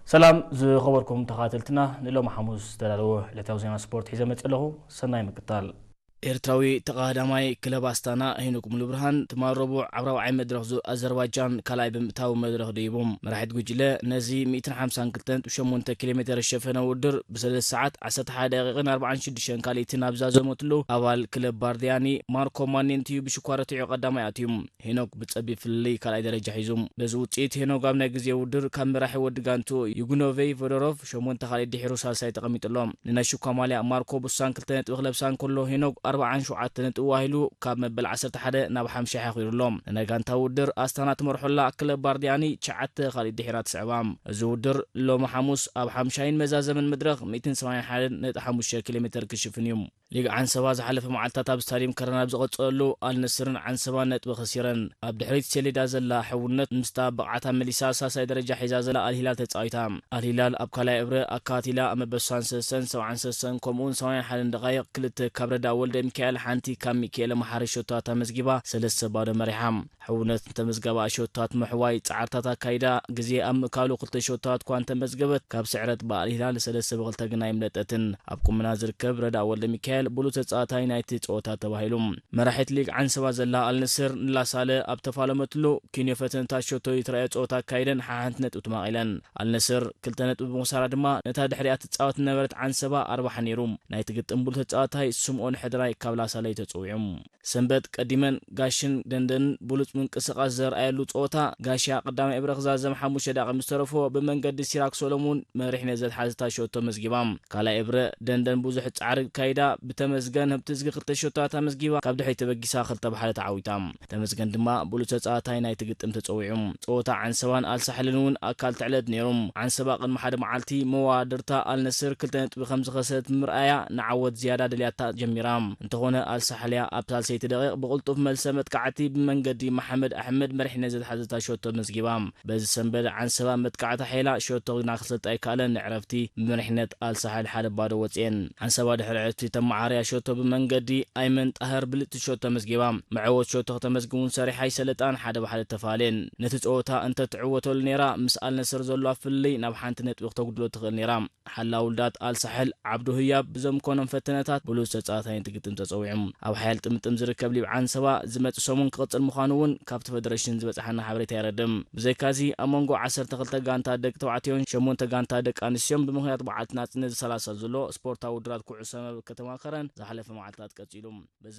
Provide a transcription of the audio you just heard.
ሰላም ዝኸበርኩም ተኸታተልትና፣ ንሎሚ ሓሙስ ዝተዳለወ ዕለታዊ ዜና ስፖርት ሒዘ መፅእ ኣለኹ። ሰናይ ምክታል። ኤርትራዊ ተቐዳማይ ክለብ ኣስታና ሄኖክ ሙሉብርሃን ትማል ረቡዕ ኣብ ራብዓይ መድረኽ ዙር ኣዘርባጃን ካልኣይ ብምእታው መድረኽ ደይቡ። መራሒት ጉጅለ ነዚ ሚእትን ሓምሳን ክልተን ነጥቢ ሸሞንተ ኪሎ ሜተር ዝሸፈነ ውድድር ብሰለስተ ሰዓት ዓሰርተ ሓደ ደቂቕን ኣርባዓን ሽዱሽተን ካልኢትን ኣብ ዛዘመትሉ ኣባል ክለብ ባርዲያኒ ማርኮ ማኔንቲዩ ብሽኳር ረቲዑ ቀዳማይ ኣትዩ። ሄኖክ ብጸቢብ ፍልልይ ካልኣይ ደረጃ ሒዙ። በዚ ውጽኢት ሄኖክ ኣብ ናይ ግዜ ውድድር ካብ መራሒ ወዲ ጋንቱ ዩጉኖቬይ ቮዶሮቭ ሸሞንተ ካልኢት ድሒሩ ሳልሳይ ተቐሚጡ ኣሎ። ንናይ ሽኳ ማልያ ማርኮ ቡሳን ክልተ ነጥቢ ክለብሳ እንከሎ ሄኖክ ኣርባዓን ሸውዓተ ነጥቢ ዋሂሉ ካብ መበል ዓሰርተ ሓደ ናብ ሓምሻይ ሓኺሩ ኣሎ። ንናይ ጋንታ ውድድር ኣስታና ትመርሖላ ክለብ ባርዲያኒ ትሽዓተ ካልኢት ድሒራ ትስዕባ። እዚ ውድድር ሎሚ ሓሙስ ኣብ ሓምሻይን መዛዘምን መድረኽ ሚእትን ሰማንያን ሓደን ነጥቢ ሓሙሽተ ኪሎ ሜተር ክሽፍን እዩ። ሊግ ዓንሰባ ዝሓለፈ መዓልታት ኣብ ስታድየም ከረን ኣብ ዝቐጸለሉ፣ ኣልነስርን ዓንሰባን ነጥቢ ከሲረን። ኣብ ድሕሪት ሰሌዳ ዘላ ሕውነት ምስታ ብቕዓታ መሊሳ ሳልሳይ ደረጃ ሒዛ ዘላ ኣልሂላል ተጻዊታ። ኣልሂላል ኣብ ካልኣይ እብረ ኣካቲላ ኣብ መበል ስሳን ሰለስተን፣ ሰብዓን ሰለስተን ከምኡውን ሰማንያን ሓደን ደቓይቕ ክልተ ካብ ረዳ ወልደ ሚካኤል፣ ሓንቲ ካብ ሚካኤል መሓሪ ሸቶታት ኣመዝጊባ ሰለስተ ባዶ መሪሓ። ሕውነት ንተመዝጋቢ ሸቶታት ምሕዋይ ጻዕርታት ኣካይዳ፣ ግዜ ኣብ ምእካሉ ክልተ ሸቶታት እኳ እንተመዝገበት፣ ካብ ስዕረት ብኣልሂላል ሰለስተ ብክልተ ግና ኣይምለጠትን። ኣብ ቁምና ዝርከብ ረዳ ወልደ ሚካኤል ብሉጽ ተጻዋታይ ናይቲ ጸወታ ተባሂሉ። መራሒት ሊግ ዓንሰባ ዘላ ኣልነስር ንላሳለ ኣብ ተፋለመትሉ፣ ኪንዮ ፈተነታት ሸቶ ይትረኣዮ ጸወታ ኣካይደን ሓሓንቲ ነጥቢ ተማቒለን። ኣልነስር ክልተ ነጥቢ ብምኽሳራ ድማ ነታ ድሕሪኣ ትጻወት ዝነበረት ዓንሰባ ኣርባሓ ነይሩ። ናይቲ ግጥም ብሉጽ ተጻዋታይ ስምኦን ሕድራይ ካብ ላሳለ እዩ ተጸዊዑ። ሰንበት ቀዲመን ጋሽን ደንደንን ብሉጽ ምንቅስቓስ ዘርኣየሉ ጸወታ፣ ጋሽያ ቀዳማይ እብረ ክዛዘም ሓሙሽተ ደቂቕ ምስ ተረፎ ብመንገዲ ሲራክ ሶሎሙን መሪሕነት ዘትሓዘታ ሸቶ መዝጊባ። ካልኣይ እብረ ደንደን ብዙሕ ጻዕሪ ካይዳ ብተመስገን ህብትዝጊ ክልተ ሸቶታት ኣመዝጊባ ካብ ድሕሪት ተበጊሳ ክልተ ብሓደ ተዓዊታ። ተመስገን ድማ ብሉጽ ተጻዋታይ ናይቲ ግጥም ተጸዊዑ። ጸወታ ዓንሰባን ኣልሳሕልን እውን ኣካል ትዕለት ነይሩ። ዓንሰባ ቅድሚ ሓደ መዓልቲ መዋድርታ ኣልነስር ክልተ ነጥቢ ከም ዝኸሰት ብምርኣያ ንዓወት ዝያዳ ደልያታ ጀሚራ። እንተኾነ ኣልሳሕልያ ኣብ ሳልሰይቲ ደቂቕ ብቕልጡፍ መልሰ መጥቃዕቲ ብመንገዲ መሓመድ ኣሕመድ መሪሕነት ዘትሓዘታ ሸቶ መዝጊባ። በዚ ሰንበት ዓንሰባ መጥቃዕቲ ሓይላ ሸቶ ግና ክሰልጥ ኣይከኣለን። ንዕረፍቲ ብመሪሕነት ኣልሳሕል ሓደ ባዶ ወጽኤን። ዓንሰባ ድሕሪ ዕረፍቲ ተመዓርያ ሸቶ ብመንገዲ ኣይመን ጣህር ብልጽቲ ሸቶ መዝጊባ። መዕወት ሸቶ ከተመዝግብ እውን ሰሪሓ ኣይሰለጣን፣ ሓደ ብሓደ ተፋልየን። ነቲ ጸወታ እንተትዕወተሉ ነይራ፣ ምስ ኣልነስር ዘለዋ ፍልልይ ናብ ሓንቲ ነጥቢ ክተጉድሎ ትኽእል ነይራ። ሓላ ውልዳት ኣልሳሕል ዓብዱ ህያብ ብዘምኮኖም ፈተነታት ብሉጽ ተጻዋታይ እንትግጥም ተጸዊዑ። ኣብ ሓያል ጥምጥም ዝርከብ ሊብ ዓንሰባ ዝመጽእ ሰሙን ክቕጽል ምዃኑ እውን ካብቲ ፈደረሽን ዝበጽሓና ሓበሬታ የረድእ። ብዘይካዚ ኣብ መንጎ ዓሰርተ ክልተ ጋንታ ደቂ ተባዕትዮን ሸሞንተ ጋንታ ደቂ ኣንስትዮን ብምኽንያት በዓልቲ ናጽነት ዝሰላሰል ዘሎ ስፖርታዊ ውድድራት ኩዕሶ መርብ ከተማኸረን ዝሓለፈ መዓልታት ቀጺሉ። በዚ